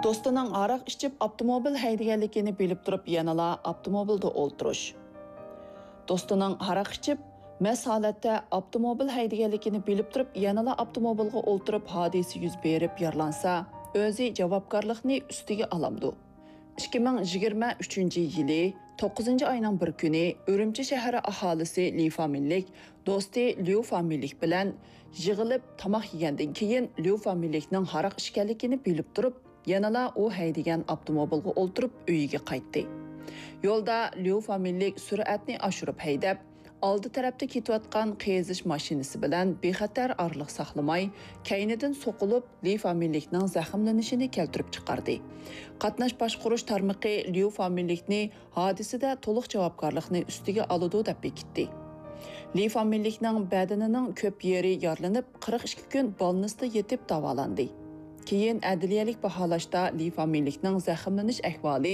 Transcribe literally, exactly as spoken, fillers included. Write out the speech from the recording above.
دوستىنىڭ ھاراق ئىچىپ ئاپتوموبىل ھەيدىگەنلىكىنى بىلىپ تۇرۇپ يەنىلا ئاپتوموبىلدا ئولتۇرۇش. دوستىنىڭ ھاراق ئىچىپ مەست ھالەتتە ئاپتوموبىل ھەيدىگەنلىكىنى بىلىپ تۇرۇپ يەنىلا ئاپتوموبىلغا ئولتۇرۇپ ھادىسە يۈز بېرىپ يارىلانسا، ئۆزى جاۋابكارلىقنى ئۈستىگە ئالامدۇ؟ ئىككى مىڭ يىگىرمە ئۈچىنچى يىلى توققۇزىنچى ئاينىڭ بىر كۈنى ئۈرۈمچى شەھىرى ئاھالىسى لى فامىلىلىك دوستى ليۇ فامىلىلىك بىلەن يىغىلىپ تاماق يېگەندىن كېيىن، ليۇ فامىلىلىكنىڭ ھاراق ئىچكەنلىكىنى بىلىپ تۇرۇپ، يەنىلا ئۇ ھەيدىگەن ئاپتوموبىلغا ئولتۇرۇپ ئۆيىگە قايتتى. يولدا ليۇ فامىلىلىك سۈرئەتنى ئاشۇرۇپ ھەيدەپ، ئالدى تەرەپتە كېتىۋاتقان قېزىش ماشىنىسى بىلەن بىخەتەر ئارىلىق ساقلىماي، كەينىدىن سوقۇلۇپ، لى فامىلىلىكنىڭ زەخىملىنىشىنى كەلتۈرۈپ چىقاردى. قاتناش باشقۇرۇش تارمىقى ليۇ فامىلىلىكنى ھادىسىدە تولۇق جاۋابكارلىقنى ئۈستىگە ئالىدۇ دەپ بېكىتتى. لى فامىلىلىكنىڭ بەدىنىنىڭ كۆپ يېرى يارىلىنىپ، قىرىق ئىككى كۈن بالنىستتا يېتىپ داۋالاندى. كېيىن ئەدلىيەلىك باھالاشتا لى فامىلىلىكنىڭ زەخىملىنىش ئەھۋالى